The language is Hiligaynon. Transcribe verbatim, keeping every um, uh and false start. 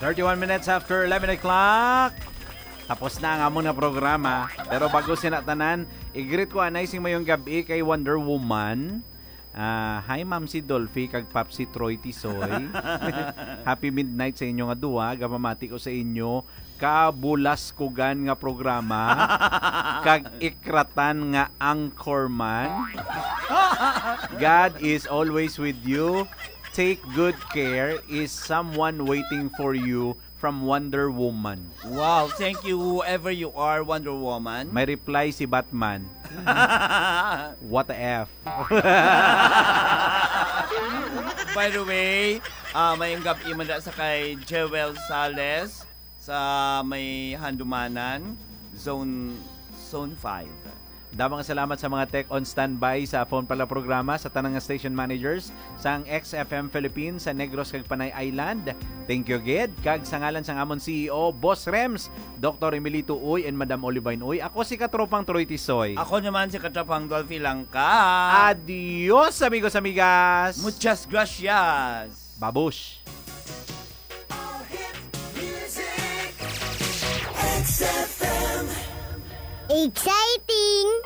Thirty-one minutes after eleven o'clock. Tapos na ang amon nga programa. Pero bago sina tanan, i-greet ko anay sing mayong gabi kay Wonder Woman. Ah, hi, Ma'am si Dolphy kag Pap si Troy Tisoy. Happy midnight sa inyo nga duha. Gapamati ko sa inyo kabulaskugan nga programa kag ikratan nga anchorman. God is always with you. Take good care. Is someone waiting for you from Wonder Woman. Wow, thank you whoever you are, Wonder Woman. May reply si Batman. What the F? By the way, uh, may gabi man sa kay Jewel Sales sa may Handumanan, Zone Zone five. Damo nga salamat sa mga tech on standby sa Phone Pala programa, sa tanang nga station managers sang X F M Philippines sa Negros kag Panay Island. Thank you gid. Kag sa ngalan sang amon C E O, Boss Rems, Doctor Emilito Uy, and Madam Olivine Uy, ako si Katropang Troy Tisoy. Ako naman si Katropang Dolphy Langka. Adios, amigos, amigas. Muchas gracias. Babush. All hit music. X F M. Exciting.